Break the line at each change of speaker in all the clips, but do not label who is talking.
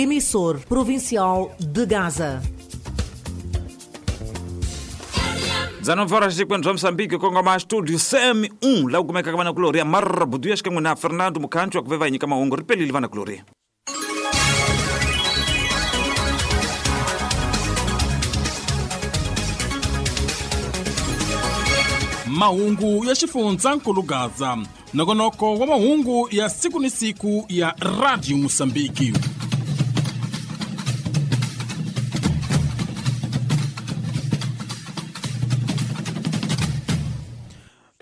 Emissor provincial de Gaza.
19 horas e 50 Moçambique kongoma studio CM1 la kumeka ka vana kulori ya Marbudu ya xikan'we na Fernando Mukhancho wa ku ve va hi nyika mahungu ri pelile vana kulori.
Mahungu ya xifundzankulu Gaza, nongonoko wa mahungu ya siku ni siku ya Radio Mosambiki.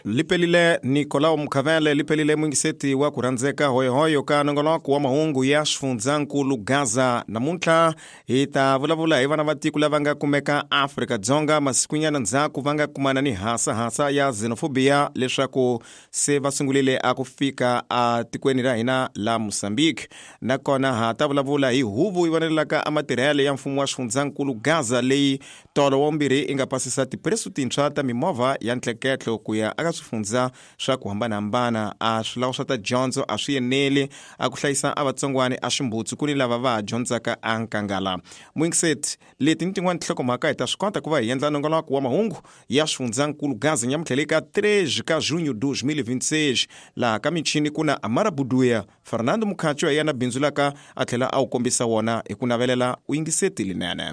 Lipelile Nicolau Mukhavele, lipelile mwingiseti wa ku rhandzeka hoyohoyo ka nongonoko wa mahungu ya xifundzankulu Gaza. Namuntlha hi ta vulavula hi vana va tiko lava nga kumeka Afrika-Dzonga masikunyana ndzhaku va nga kumana ni hasahasa ya xenophobia leswaku se va sungulile a ku fika a tikweni ra hina la Mozambique. Nakona ha ta vulavula hi huvo yi vonelelaka a matirhelo ya mfumo wa xifundzankulu Gaza leyi tolo wa vumbirhi yi nga pasisa tipresu tintshwa ta mimovha ya ntleketlo ku ya aka swifundza swa ku hambanahambana. A swilawu swa ta dyondzo a swi eneli a ku hlayisa a vatsongwani a ximbutsu ku ni lava va ha dyondzaka a nkangala. Mwingiseti, leti ni tin'wani tinhlokomhaka hi ta swi kota ku va hi endla nongonoko wa mahungu ya xifundzankulu Gaza nyamuntlha ka 3 ka junho 2026. Laha ka michini ku na Amara Buduya, Fernando Mukhacho hi yena bindzu laka a tlhela a wu kombisa wona hi ku navelela u yingiseti linene.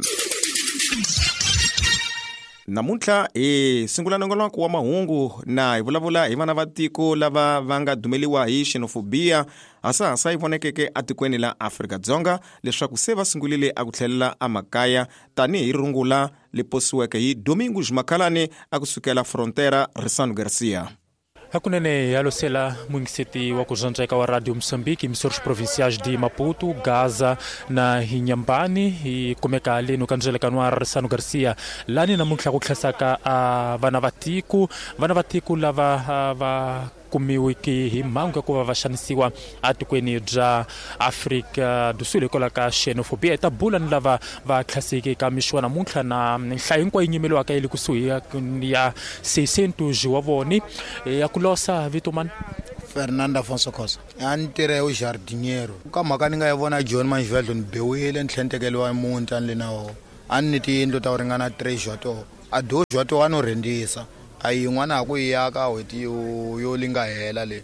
Namuntlha hi sungula nongonoko wa mahungu na hi vulavula hi vana va tiko lava va nga dumeliwa hi xenophobia hasahasa yi vonekeke atikweni la Afrika-Dzonga leswaku se va sungulile a ku tlhelela emakaya tanihi rungula li posiweke hi Domingos Makhalani a ku sukela Frontera Risano Garcia.
Hakunene ya losela mwingiseti wa ku rhandzeka wa Radio Mozambique, emissores provinciais de Maputo, Gaza na Inhambane, hi kumeka leno ka ndzelekano wa Risano Garcia lani namuntlha ku tlhasaka a vana va tiko, vana va tiko lava va kumiwiki hi mhangu ya ku va va xanisiwa atikweni bya Afrika do Sul hikwalaho ka xenophobia. Hi ta bula ni lava va tlhaseke ka mixo wa namuntlha na nhlayo hinkwayo yi nyimeliwaka yi le kusuhi ya 600 wa voni ya ku losa vito mani.
Fernando Afonso Khosa. A ni tirha hi jardiniero. Ka mhaka ni nga yi vona John Manjivadlo ni biwile ni tlhela ni tekeriwa muti a ni le na wona. A ni ni tiyindlu ta ku ringana 3 wa toho. A 2 wa toho a no rhentisa. A yin'wana a ku yi aka n'hweti yo li nga hela leyi.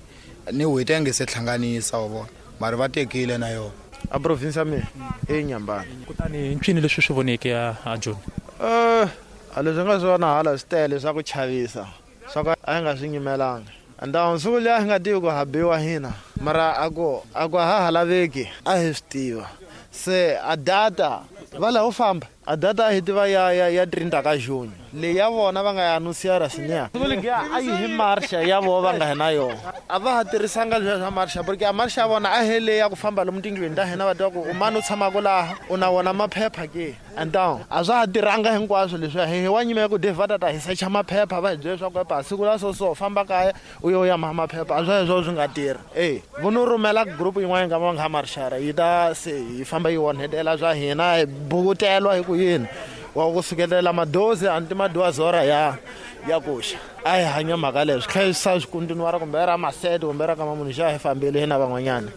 Ni n'hweti a nge se hlanganisa wa vona. Mara va tekile na yona.
A province ya mina i Inhambane.
Kutani ncini leswi swi voneke a Joni?
A leswi nga swi vona hala swi tele swa ku chavisa. Swa ku a hi nga swi nyimelanga. Ndhawu siku liya hi nga tivi ku ha biwa hina. Mara a ku a ha laveki a hi swi tiva. Se a data va lava u famba. A data a hi tiva ya 30 ka junho. Leyi ya vona va nga ya anunciar sinia. Siku liya a yi hi marcha ya vona va nga hi na yona. A va ha tirhisanga leswiya swa marcha porque a marcha ya vona a hi leyi ya ku famba lomu tindlwini ta hina va tiva ku u mani u tshamaka laha u na wona maphepha ke. And down a swa ha tirhanga hinkwaswo leswiya hi wa nyimela ku Dave va ta ta hi secha maphepha va hi byela leswaku epa siku la so so famba kaya u yo ya maha maphepha a swa heswo swi nga tirhi. Vo no rhumela group yin'wana nga va nga marchara yi ta se yi famba yi onhetela swa hina hi bukutela hi ku yini wa ku sukelela madozi a ni ti madozi ya kuxa. A hi hanya mhaka leyo swi tlhela swi swi continuara kumbe ra masete kumbe ra ka mamunhu xa hi fambile hina van'wanyana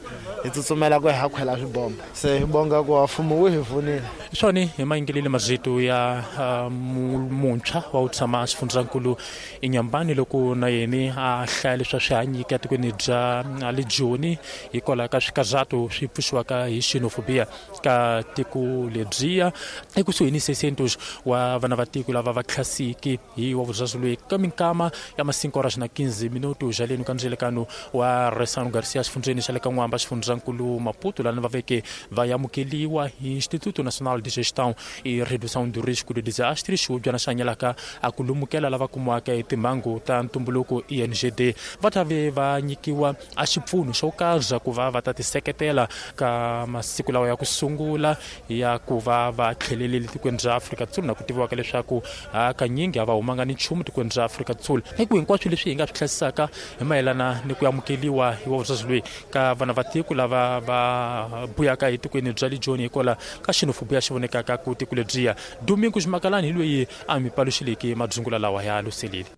hi tsutsumela ku hi ha khwela swibomba se hi bonga ku mfumo wu hi pfunile.
Swona hi mayingeleli marito ya muntshwa wa ku tshama xifundzankulu Inhambane loko na yena a hlaya leswi a swi hanyike etikweni bya le Joni hikwalaho ka swikarhato swi pfuxiwaka hi xenophobia ka tiko lebyiya ekusuhi ni 600 wa vana va tiko lava va tlhasiki hi wa vuzazi loyi ka minkama ya ma 5 horas na 15 minuto jaleni ka ndzelekano wa Resano Garcia xifundzeni xa le ka N'wamba xifundzankulu Maputo lani va veke va amukeliwa hi Instituto Nacional de Gestão e Redução do Risco de Desastres xihubyana xa hanyelaka a ku lumukela lava kumiwaka hi timhangu ta ntumbuluko INGD va ta ve va nyikiwa a xipfuno xo karhi ku va va ta tiseketela ka masiku lawa ya ku sungula ya ku va va tlhelelile tikweni ra Afrika-Dzonga na ku tiviwaka leswaku hakanyingi a va humanga ni nchumu tikweni ra Afrika-Dzonga. I ku hinkwaswo leswi hi nga swi hlayisaka hi mayelana ni ku amukeliwa hi wa vuzazi loyi ka vana va tiko lava va buyaka etikweni bya le Joni hikwalaho ka xenophobia xi vonekaka ku tiko lebyiya. Domingo Ximakalani hi loyi a mi paluxileke madzungula lawa ya luselile.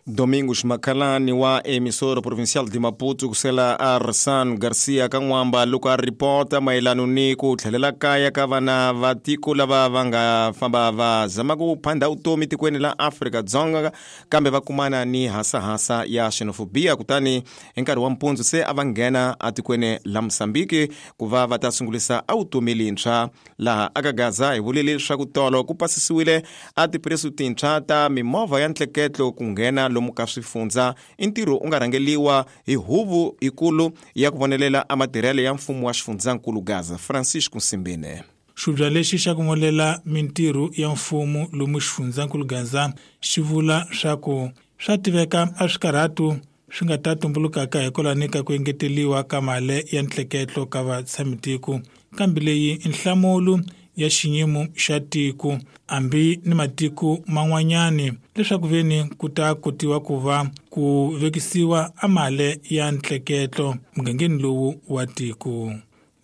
Domingos Makhalani wa Emissora Provincial de Maputo kusela Arsan Garcia ka N'wamba loko a ripota mayelano ni ku tlhelela kaya ka vana va tiko lava va nga famba va zama ku phanda vutomi tikweni la Afrika-Dzonga kambe va kumana ni hasahasa ya xenofobia kutani hi nkarhi wa mpundzu se a va nghena atikweni la Mozambique ku va va ta sungulisa a vutomi lintshwa. Laha aka Gaza hi vule leswaku tolo ku pasisiwile a tipresu tintshwa ta mimovha ya ntleketlo ku nghena lomu ka swifundza. I ntirho u nga rhangeliwa hi huvo yikulu ya ku vonelela a matirhelo ya mfumo wa xifundzankulu Gaza, Francisco Nsimbine.
Xivubya lexi xa ku vonelela mintirho ya mfumo lomu xifundzankulu Gaza xi vula swa ku swa tiveka a swikarhatu swi nga ta tumbulukaka hikwalaho ka ku engeteliwa ka mali ya ntleketlo ka vatshamitiko, kambe leyi i nhlamulo ya xiyimo xa tiko hambi ni matiko man'wanyani leswaku veni ku ta kotiwa ku va ku vekisiwa a mali ya ntleketlo mugangeni lowu wa tiko.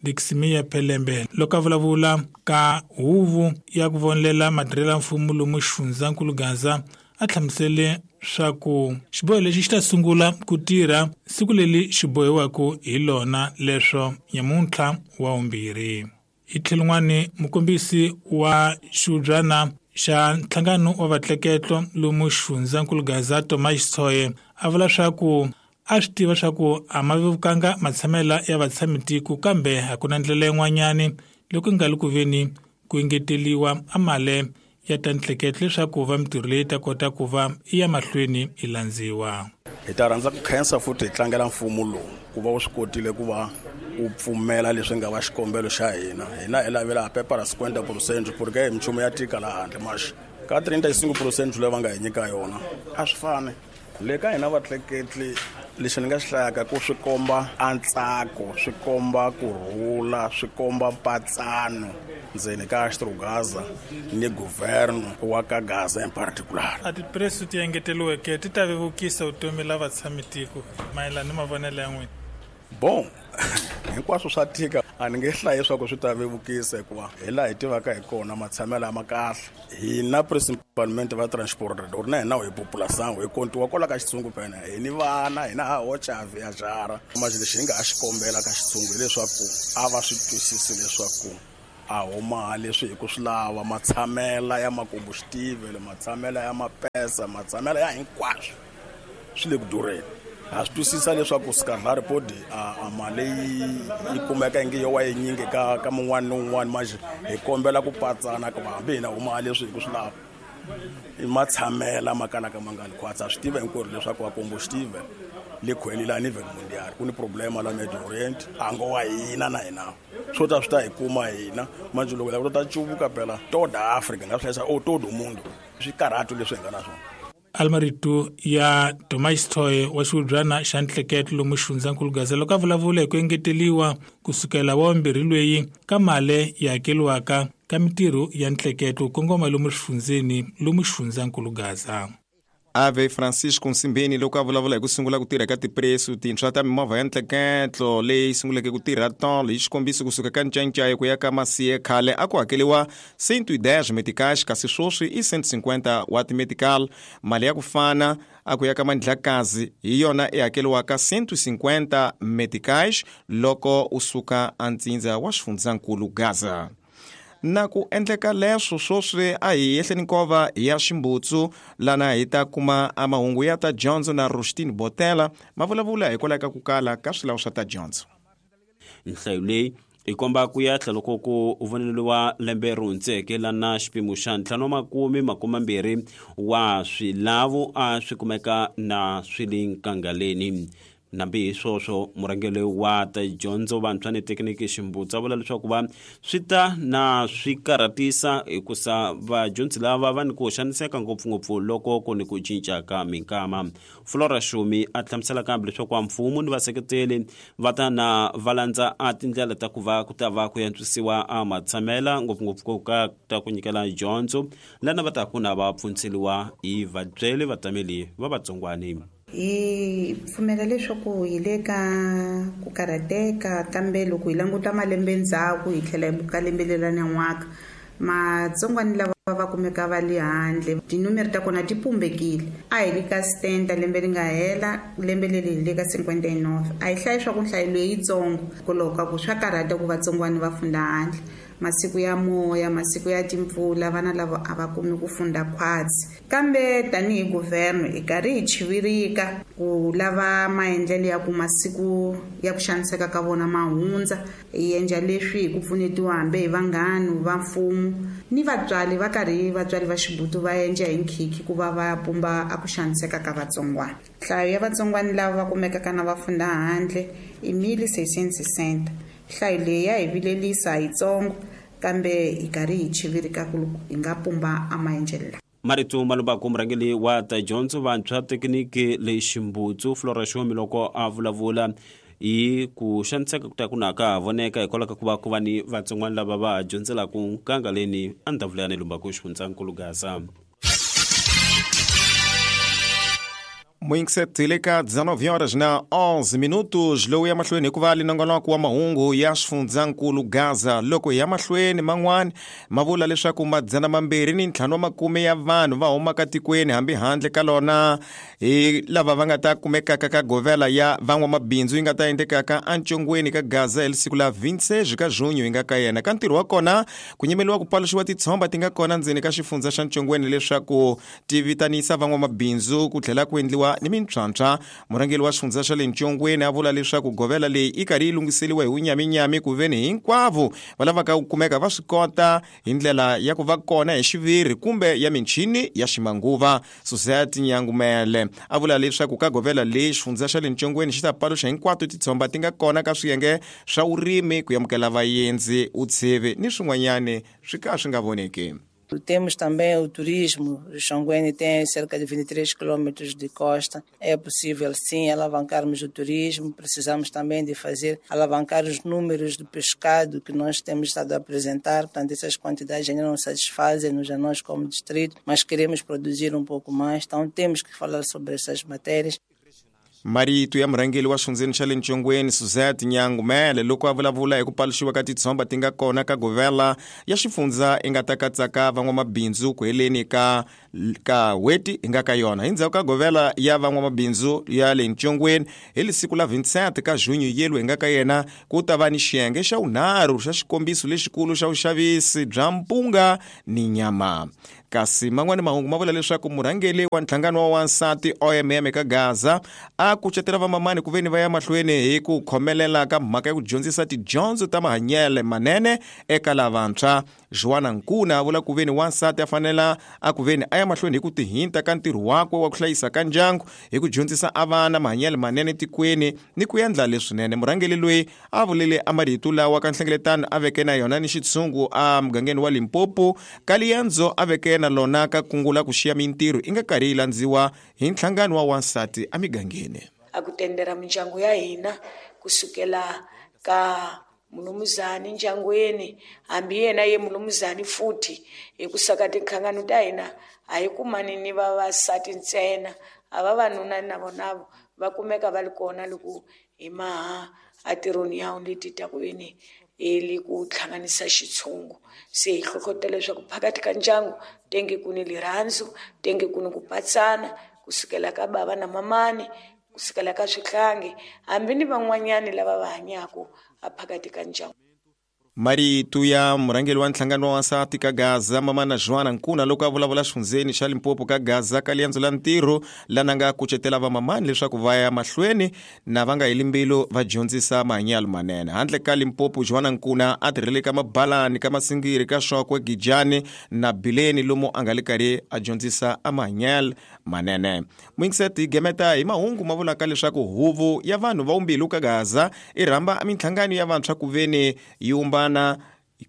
Diximia Pelembe loko a vulavula ka huvo ya ku vonelela matirhelo ya mfumo lomu xifundzankulu Gaza a hlamusele swa ku xiboho lexi xi ta sungula ku tirha siku leri xi bohiwaka hi lona leswo nyamuntlha wa vumbirhi. Hi tlhelo n'wani mukombisi wa xivubyana xa nhlangano wa vatleketlo lomu xifundzankulu Gaza Tomas Tshoye a vula swa ku a swi tiva swa ku a ma vevukanga matshamela ya vatshamitiko kambe a ku na ndlela yin'wanyani loko nga li ku veni ku engeteliwa a mali ya ta ntleketlo leswaku va mintirho leyi ta kota ku va i ya mahlweni yi landziwa.
Hi ta rhandza ku khensa futhi hi tlangela mfumo lowu ku va wu swi kotile ku va wu pfumela leswi nga va xikombelo xa hina. Hina hi lavela pepa ra 50% porque hi minchumu ya tika laha handle maxi ka 35% leyi va nga hi nyika yona a swi fani. Le ka hina vatleketli lexi ni nga xi hlayaka ku swi komba a ntsako, swi komba kurhula, swi komba mpatsano ndzeni ka Xitro-Gaza ni governo wa ka Gaza in particular.
A tipresu ti engeteliweke ti ta vevukisa vutomi la vatshamitiko mayelana ni mavonelo ya n'wina?
Bon, hinkwaswo swa tika a ni nge hlayi leswaku swi ta vevukisa hikuva hi laha hi tivaka hi kona matshamelo a ma kahle. Hina principalmente va transport or na hina hi population hi kontiwa kwala ka xitshungu phela hi ni vana hina ha hoxa viajara. Manje lexi hi nga ha xi kombela ka xitshungu hileswaku a va swi twisisi leswaku a huma leswi hi ku swi lava matshamela ya makombuxitivele, matshamela ya mapesa, matshamela ya hinkwaswo swi le ku durheni. Ha swi twisisa leswaku Skadlari podi a mali yi kumeka ingi yo wa yinyingi ka mun'wana ni un'wana, manje hi kombela ku patsana ku hambi hina huma leswi hi ku swi lava i matshamela ma kalaka ma nga li khwatsi. Ha swi tiva hinkwerhu leswaku va kombuxitive le khweli la ni mundial ku ni problema la Middle Orient a ngo wa hina na hina swo ta swi ta hi kuma hina manje loko lava ta cuvuka phela toda Africa nga swi hlayisa o todo mundo swikarhatu leswi hi nga na swona.
Almarito ya Tomas Tshoye wa xivubyana xa ntleketlo lomu xifundzankulu Gaza loko a vulavula hi ku engeteliwa kusukela wa vumbirhi lweyi ka mali yi hakeliwaka ka mintirho ya ntleketlo kongoma lomu xifundzeni lomu xifundzankulu Gaza.
Ave Francisco Nsimbeni loko a vulavula hi ku sungula ku tirha ka tipresu tintshwa ta mimovha ya ntleketlo leyi sunguleke ku tirha tolo hi xikombiso kusuka ka Ncaincayi ku ya ka Masiye khale a ku hakeliwa 110 meticais kasi sweswi i 150 wa timetical. Mali ya ku fana a ku ya ka Mandlakazi hi yona i hakeliwaka 150 meticais loko u suka antsindza wa xifundzankulu Gaza. Na ku endleka leswo sweswi a hi yehleni nkova ya Ximbutsu lana hi ta kuma a mahungu ya ta dyondzo na Rustin Botela ma vulavula hikwalaho ka ku kala ka swilawu swa ta dyondzo.
Nhlayo leyi i komba ku yahla loko ku voneliwa lembe ri hundzeke lana xipimo xa 520 wa swilavu a swi kumeka na swi le nkangaleni. Nambi hi swoswo murhangeri wa ta dyondzo vantshwa ni thekiniki Ximbutsu a vula leswaku va swi ta na swi karhatisa hikusa vadyondzi lava va ni ku xaniseka ngopfungopfu loko ku ni ku cinca ka minkama. Flora Shumi a hlamusela kambe leswaku wa mfumo ni vaseketeli va ta na va landza a tindlela ta ku va ku ta va ku antswisiwa a matshamela ngopfungopfu ku ka ta ku nyikela dyondzo lana va ta ku na va pfundzeliwa hi vabyeli vatameli va vatsongwani.
Hi pfumela leswaku hi le ka ku karhateka kambe loko hi languta malembe ndzhaku hi tlhela hi buka lembe leri nan'waka matsongwani lava va kumeka va le handle. Tinumere ta kona ti pumbekile. A hi le ka 70 lembe ri nga hela, lembe leri hi le ka 59. A hi hlayi swa ku nhlayo leyitsongo hikwalaho ka ku swa karhata ku vatsongwana va funda handle. Masiku ya moya, masiku ya timpfula, vana lava a va kumi ku funda khwatsi. Kambe tanihi guvherno hi karhi hi chivirika ku lava maendlelo ya ku masiku ya ku xaniseka ka vona ma hundza. Hi endla leswi hi ku pfunetiwa hambi hi vanghana va mfumo ni vatswari va karhi vatswari va xibutu va endla hi nkhikhi ku va va pumba a ku xaniseka ka vatsongwana. Nhlayo ya vatsongwana lava va kumekaka na va funda handle i 1660. Nhlayo leyi ya hi vilelisa yitsongo kambe hi karhi hi chivirika ku hi nga pumba a maendlelo lawa.
Marito Malubako murhangeri wa ta dyondzo vantshwa thekiniki leyi Ximbutsu Flora Xomi loko a vulavula hi ku xaniseka ku ta ku naka voneka hikwalaho ka ku va ku va ni vatsongwana lava va dyondzelaka nkangaleni andhavulani Lumbaku xifundzankulu Gaza.
Moinxet le ka 19 horas na 11 minutos lowu ya mahlweni hikuva linongonoko wa mahungu ya xifundzankulu Gaza loko ya mahlweni man'wani ma vula leswaku 250 ya vanhu va humaka tikweni hambi handle ka lona hi lava va nga ta kumekaka ka govela ya van'wamabindzu yi nga ta endlekaka encongweni ka Gaza hi siku la 26 ka junho yi nga ka yena. Ka ntirho wa kona ku nyimeliwa ku paluxiwa titshomba ti nga kona ndzeni ka xifundza xa ncongweni leswaku ti vitanisa van'wamabindzu ku tlhela ku endliwa ni mintshwantshwa. Murhangeri wa xifundza xa le ncongweni a vula leswaku govela leyi i karhi yi lunghiseriwa hi wunyaminyami ku veni hinkwavo va lavaka ku kumeka va swi kota hi ndlela ya ku va kona hi xiviri kumbe ya michini ya ximanguva. Society Nyangumele a vula leswaku ka govela leyi xifundza xa le ncongweni xi ta paluxa hinkwato titshomba ti nga kona ka swiyenge swa vurimi ku amukela vaendzi, utsheve ni swin'wanyani swi ka swi nga voneki.
Temos também o turismo. O Xongweni tem cerca de 23 quilômetros de costa. É possível, sim, alavancarmos o turismo. Precisamos também de fazer, alavancar os números de pescado que nós temos estado a apresentar. Portanto, essas quantidades ainda não satisfazem-nos a nós como distrito, mas queremos produzir um pouco mais. Então, temos que falar sobre essas matérias.
Marito ya murhangeri wa xifundzeni xa le ncongweni Suzette Nyangumele loko a vulavula hi ku paluxiwa ka titshomba ti nga kona ka govela ya xifundza i nga ta katsaka van'wamabindzu ku heleni ka n'hweti hi nga ka yona. Hi ndzhaku ka govela ya van'wamabindzu ya le ncongweni hi siku la 27 ka junho yelo hi nga ka yena ku ta va ni xiyenge xa vunharhu xa xikombiso lexikulu xa vuxavisi bya mpunga ni nyama. Kasi man'wani mahungu ma vula leswaku murhangeri wa nhlangano wa wansati OMM ka Gaza a kucetela vamamani ku veni va ya mahlweni hi ku khomelela ka mhaka ya ku dyondzisa tidyondzo ta mahanyelo manene eka lavantshwa. Joana Nkuna a vula ku veni wansati a fanela a ku veni a ya mahlweni hi ku tihinta ka ntirho wakwe wa ku hlayisa ka ndyangu hi ku dyondzisa a vana mahanyelo manene tikweni ni ku endla leswinene. Murhangeri loyi a vulile a marito lawa ka nhlengeletano a veke na yona ni xitshungu a mugangeni wa Limpopo ka liendzo a veke na lona ka kungu la ku xiya mintirho i nga karhi yi landziwa hi nhlangano wa wansati emigangeni.
A ku tendera mindyangu ya hina kusukela ka mulumuzani ndyangwini hambi yena ye mulumuzani futhi hi ku saka tinhlangano ta hina a hi kumani ni vavasati ntsena a vavanuna na vona va kumeka va ri kona loko hi maha atirhweni ya leti ta ku yini li ku hlanganisa xitshungu. Se hi hlohlotela leswaku phakathi ka ndyangu tenge ku ni lirhandzu, tenge ku ni ku patsana kusukela ka bava na mamani, kusukela ka swihlangi hambi ni van'wanyani lava va hanyaka phakathi ka ndyangu.
Marito ya murhangeri wa nhlangano wa wansati ka Gaza mamana Joana Nkuna loko a vulavula xifundzeni xa Limpopo ka Gaza ka liendzo la ntirho lana nga kucetela vamamani leswaku va ya mahlweni na va nga heli mbilu va dyondzisa mahanyelo manene. Handle ka Limpopo, Joana Nkuna a tirhele ka Mabalani, ka Masingiri, ka Shokwe, Gijani na Bileni lomu a nga le karhi a dyondzisa a mahanyelo manene. Moinxet gemeta hi mahungu ma vulaka leswaku huvo ya vanhu va umbilu ka Gaza i rhamba minhlangano ya vantshwa ku veni yi umbana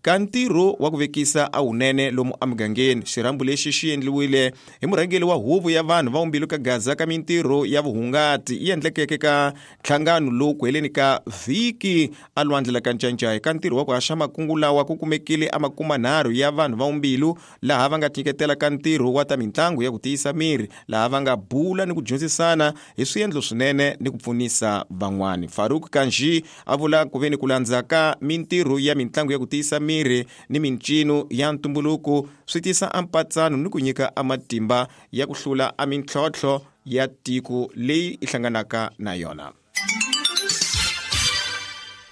ka ntirho wa ku vekisa a wunene lomu emugangeni. Xirhambo lexi xi endliwile hi murhangeri wa huvo ya vanhu va umbilu ka Gaza ka mintirho ya vuhungati yi endlekeke ka nhlangano lowu ku heleni ka vhiki a lwandle la ka Ncancai. Ka ntirho wa ku haxa makungu lawa ku kumekile a 30 ya vanhu va umbilu laha va nga tinyiketela ka ntirho wa ta mintlangu ya ku tiyisa miri laha va nga bula ni ku dyondzisana hi swiendlo swinene ni ku pfunisa van'wani. Farouk Kanji a vula ku veni ku landza ka mintirho ya mintlangu ya ku tiyisa tiolola miri ni mincino ya ntumbuluko swi tisa ampatsano ni ku nyika amatimba ya ku hlula a mintlhontlho ya tiko leyi i hlanganaka na yona.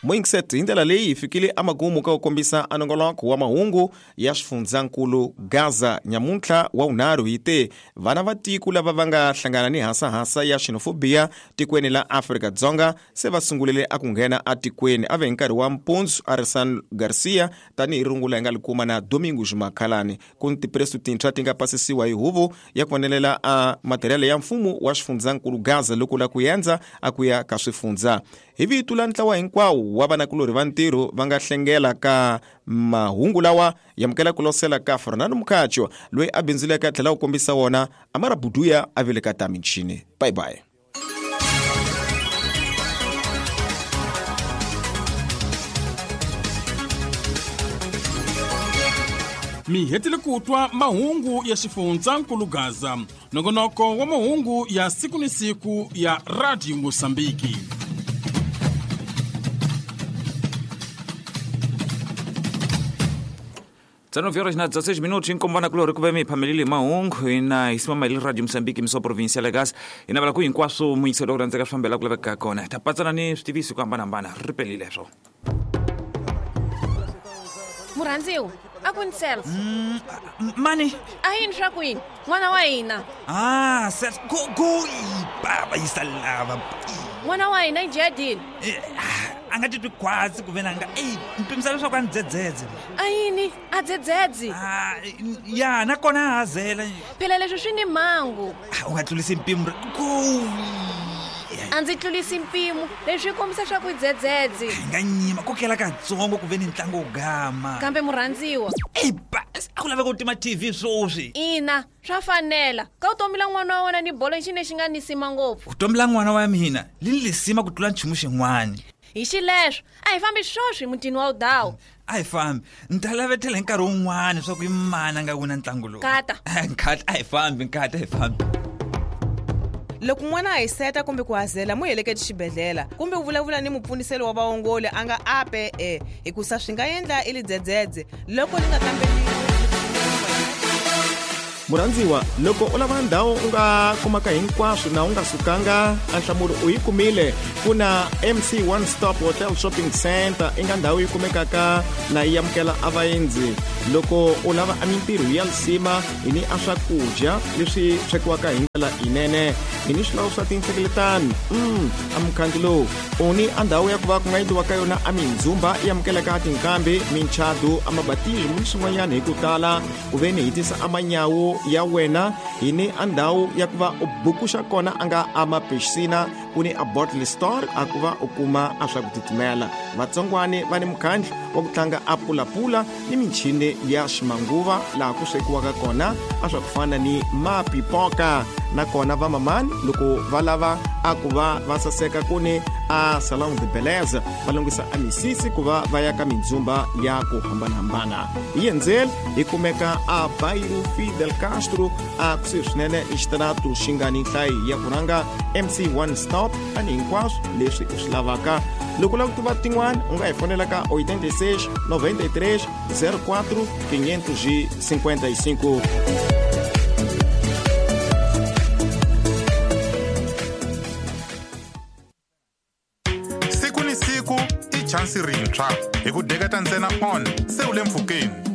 Moingset hi ndlela leyi hi fikile amagumu ka ku kombisa anongoloko wa mahungu ya xifundzankulu Gaza nyamuntlha wa vunharhu hi te vana va tiko lava va nga hlangana ni hasahasa ya xenofobia tikweni la Afrika-Dzonga se va sungulile a ku nghena atikweni a ve hi nkarhi wa mpundzu Arisan Garcia tanihi rungula hi nga li kuma na Domingos Makhalani ku ni tipresu tintshwa ti nga pasisiwa hi huvo ya ku vonelela a matirhelo ya mfumo wa xifundzankulu Gaza loko la ku yendza a ku ya ka swifundza. Hi vito la ntlawa hinkwawo wa vanakulorhi va ntirho va nga hlengela ka mahungu lawa yamukela ku losela ka Fernando Mukhacho loyi a bindzuleke a tlhela ku kombisa wona Amara Buduya a veleka ta michini. Bye bye.
Mi hetile ku twa mahungu ya xifundzankulu Gaza, nongonoko wa mahungu ya siku ni siku ya Radio Mosambiki.
19 horas na 16 minutos inkombana kulori ku ve mi phamelile mahungu hina hi simama hi Radio Mozambique miso provincial ya Gaza hi navela ku hinkwaswo muyingiselo ku rhandzeka swi fambela ku laveka kona hi ta patsana ni switiviso ku hambanahambana ri pelile swo.
Murhandziwa a ku ni self
mani
a yini swa ku yini n'wana wa hina
ah self go go baba yisa lava
n'wana wa hina i jadini
a nga titwi khwatsi ku ve na nga eyi mpimisa leswaku a ni dzedzedze
a yini a dzedzedzi
ya nakona a hazela
phela leswi swi ni mhangu
u nga tlulisi mpimo go
a ndzi tlulisi mpimo leswi swi kombisa swa ku dzedzedzi
hi nga nyima kokela katsongo ku ve ni ntlangu wo gama
kambe murhandziwa
eyi ba a ku laveka ku tima TV swoswi
ina swa fanela ka vutomi la n'wana wa wena ni bolo i xi lexi nga nisima ngopfu
vutomi la n'wana wa mina li ni lisima ku tlula nchumu xin'wana
hi xileswo a hi fambi swoswi mutini wa udawu
a hi fambi ni ta lavetela hi nkarhi wun'wana swa ku i mani a nga wina ntlangu lowu
Nkata.
Nkata a hi fambi nkata a hi fambi
Loko n'wana a hiseta kumbe ku hazela mu heleketi xibedhlele kumbe u vulavula ni mupfuniseli wa vaongoli a nga ape e hikusa swi nga endla i lidzedzedze loko li nga kambeliwi.
Murhandziwa loko u lava ndhawu u nga kumaka hinkwaswo na u nga sukanga a nhlamulo u yi kumile ku na MC One Stop Hotel Shopping Center i nga ndhawu yi kumekaka na yi amukela a vaendzi loko u lava a mintirho ya lisima hi ni a swakudya leswi swekiwaka hi ndlela yinene hi ni swilawu swa tinhlengeletano a mukhandlu lowu u ni a ndhawu ya ku va ku nga endliwa ka yona a mindzumba yi amukeleka tinkambi minchadu a mabatismo ni swin'wanyana hi ku tala ku ve ni hi tisa a manyawu ya wena hi ni a ndhawu ya ku va u bukuxa kona a nga a mapixina ku ni a bottle store a ku va u kuma a swa ku titimela vatsongwani va ni mukhandlu wa ku tlanga a pulapula ni michini ya ximanguva laha ku swekiwaka kona a swa ku fana ni mapipoka nakona vamamani loko va lava a ku va va saseka ku ni a salon de beleza va lunghisa a misisi ku va va ya ka mindzumba ya ku hambanahambana hi yendzeli hi kumeka a Bairro Fidel Castro a kusuhi swinene ni xitaratu xi nga ni nhlayo ya ku rhanga MC One Stop ani hinkwaswo leswi u swi lavaka loko u lava ku tiva tin'wana u nga hi fonela ka 86 93 04 555.
Siku ni siku i chansi rintshwa hi ku deketa ntsena on se u le mpfhukeni.